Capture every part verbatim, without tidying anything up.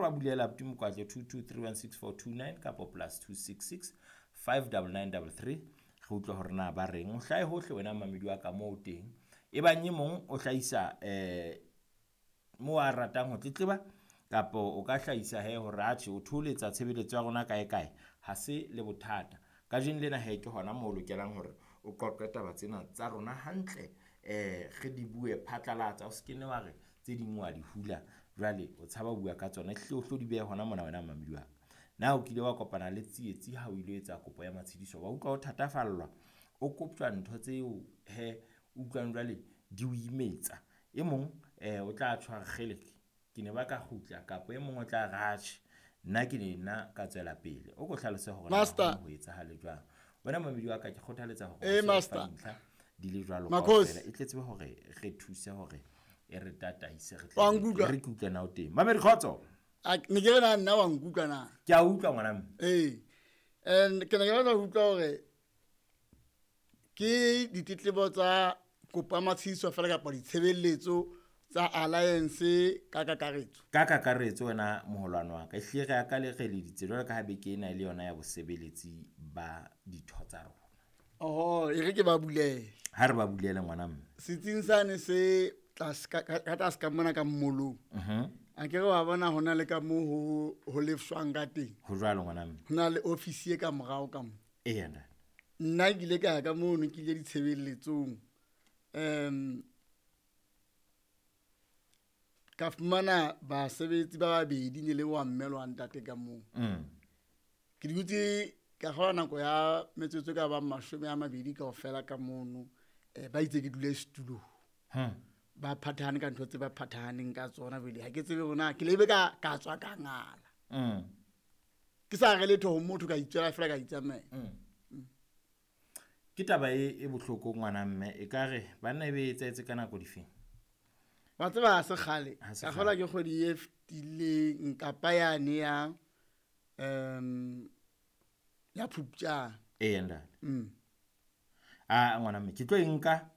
ba bulela abuti Mokwatlo two two three one six four two nine kapa plus two six six five double nine double three. Re utlwe hore na ba reng. O hlahe hohle wena mamedi wa ka moo o teng. E bang e mong o hlahisa eh mo a ratang ho tletleba kapa o ka hlahisa he hore atjhe o thoholetsa tshebeletso ya rona kae kae, ha se le bothata. Kajeno lena he ke hona moo o lokelang hore o qoqe taba tsena tsa rona hantle, eh re di bue phatlalatsa. O se ke nne wa re tse ding wa di hula jwale o tshaba ho bua ka tsona. Ehlile o hlo di behe hona mona wena mamedi wa ka. Na o kile wa kopana le tsietsi ha o ilo etsa kopo ya matshidiso? Wa utlwa o thatafallwa, o koptjwa ntho tseo he utlwang jwale di o imetsa. E mong eh o tla tjho a re kgeleke, ke ne ba ka kgutla kapa e mong o tla re atjhe nna ke ne nna ka tswela pele. O ko hlalose hore na Master. ho etsahale jwang. Wena mamedi wa ka ke kgothaletsa hore Eh, o se fa master. dintlha di le jwalo Makhosi. kaofela. E tle tsebe hore re thuse hore e re tataise re Wa tle nkutlwa? re ke utlwe na o teng. Mamedi kgotso. A ne ke re na nna wa nkutlwa na? Ke a utlwa ngwana mme. Ee. And ke ne ke batla ho utlwa hore ke ditletlebo tsa kopo ya matshediso fela kapa ditshebeletso tsa Alliance ka kakaretso. Ka kakaretso wena moholwane wa ka, ehlile re ya ka le re leditse jwalo ka ha beke ena e le yona ya bosebeletsi ba ditho tsa rona. Oho, e re ke ba bulele. Ha re ba bulele ngwana mme. Setsing sane se tlase ka ka tlase ka mona ka mmolong. Mhm. A ke re wa bona hona le ka moo ho ho lefshwang ka teng. Ho jwalo ngwana mme. Ho na le ofisi e ka morao ka mo. Eya ntate. Nna ke ile ka ya ka mono ke ile ditshebeletsong. Um ka fumana basebetsi ba babedi ne le wa mme le wa ntate ka moo. Mm. Ke dutse ka kgola nako ya metsotso e ka bang mashome a mabedi kaofela ka mono. Eh ba itse ke dule setulong. Hmm. Ba phathahane ka ntho tse ba phathahaneng ka tsona jwale ha ke tsebe hore na ke lebe ka ka tswa ka ngala. Mm. Ke sa re letho ho motho ka itswela fela ka itsamela. Mm. Ke taba e e bohloko ngwana mme e ka re banna e be e etsahetse ka nako difeng? Wa tseba ha se kgale. Ha se Ka kgolwa kgale. ke kgwedi e fetileng kapa yane ya um ya Phupjane. Eya ntate. Mm. Ah ngwana mme ke tlo e nka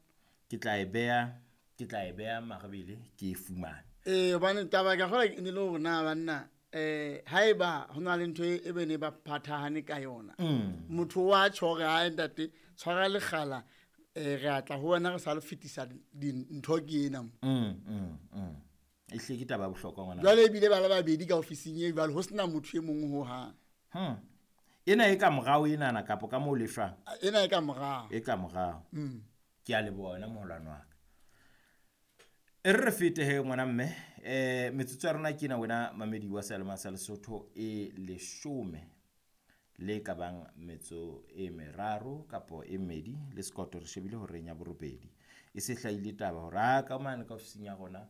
ke tla e beha ke tla e beha marabele ke e fumane. Eh hobane taba ka kgolwa e ne le hore na banna eh haeba ho na le ntho e be ne ba phathahane ka yona. Mm. Motho wa tjho hore ha ntate tshwara lekgala eh re a tla ho wena re sa le fetisa dintho ke ena mo. Mm mm mm. Ehlile ke taba ya bohlokwa ngwana. Jwale ebile ba le babedi ka ofising e jwale ho sena motho e mong ho hang. Hmm. Ena e ka morao enana kapa ka moo lefshwang? Ena e ka morao. E ka morao. Mm. Ke a leboha wena moholwane wa ka. E re re fete he ngwana mme, eh metsotso ya rona ke ena wena mamedi wa Seyalemoya sa Lesotho e leshome le ka bang metso e meraro kapo e mmedi le sekoto re shebile horeng ya borobedi. E se hlahile taba hore a ka mane ka ofising ya rona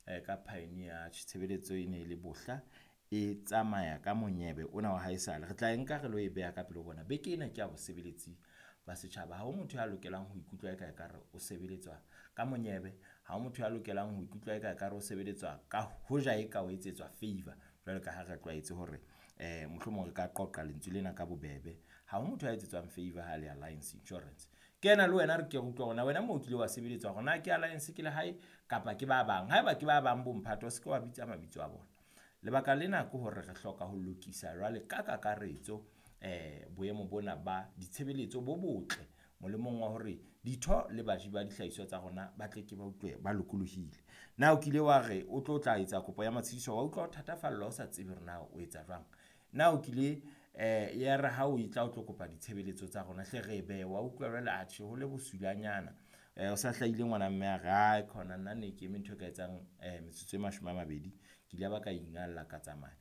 eh ka Pioneer tshebeletso e ne e le bohla e tsamaya ka monyebe ona wa haesale. Re tla e nka re lo e beha ka pele ho bona. Beke ena ke ya bosebeletsi ba setjhaba. Ha ho motho ya lokelang ho ikutlwa eka ekare o sebeletswa ka monyebe. Ha ho motho ya lokelang ho ikutlwa eka ekare o sebeletswa ka hoja e ka o etsetswa favor. Jwalo ka ha re tlwaetse hore eh mohlomong re ka qoqa lentswe lena ka bobebe. Ha ho motho ya etsetswang favor ha le Alliance Insurance. Ke ena le wena re ke re utlwa hore na wena moo o kile wa sebeletswa hore na ke Alliance ke le hae kapa ke ba bang. Haeba ke ba bang bo mphato, o se ke wa bitsa mabitso a bona. Lebaka lena ke hore re hloka ho lokisa jwale ka kakaretso eh boemo bona ba ditshebeletso bo botle molemong wa hore ditho le baji ba dihlahiswa tsa rona ba tle ke ba utlwe ba lokolohile. Na o kile wa re o tlo tla etsa kopo ya matshediso wa utlwa o thatafallwa o sa tsebe hore na o etsa jwang? Na o kile eh ya re ha o etla o tlo kopa ditshebeletso tsa rona hle re e behe wa utlwa jwale atjhe ho le bosulanyana. Eh o sa hlahile ngwana mme a re ai khona nna ne ke eme ntho e ka etsang eh metsotso e mashome a mabedi ke ile ba ka ingalla ka tsamaya.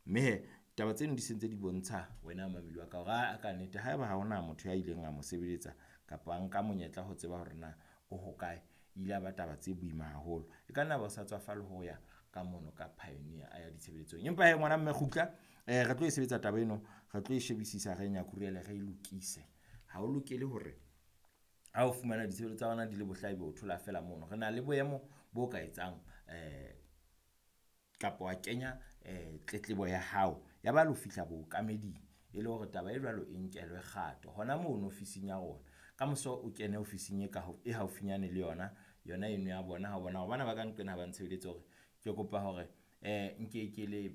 Mme he taba tseno di sentse di bontsha wena mamedi wa ka hore a ka nnete haeba ha hona motho ya ileng a mo sebeletsa kapa a nka monyetla ho tseba hore na o hokae, ile a ba taba tse boima haholo. E ka nna ba o sa tswafa le ho ya ka mono ka Pioneer a ya ditshebeletsong. Empa he ngwana mme kgutla eh re tlo e sebetsa taba eno, re tlo e shebisisa re nyakurele re e lokise. Ha o lokele hore ha o fumana ditshebeletso tsa rona di le bohla ebe o thola fela mono. Re na le boemo bo ka etsang eh kapa wa kenya eh tletlebo ya hao ya ba lo fihla bookameding e le hore taba e jwalo e nkelwe kgato hona mono ofising ya rona. Ka moso o kene ofising e ka e haufinyane le yona yona eno ya bona ha bona hore bana ba ka nqena ha ba ntshebeletse hore ke kopa hore eh nke ke le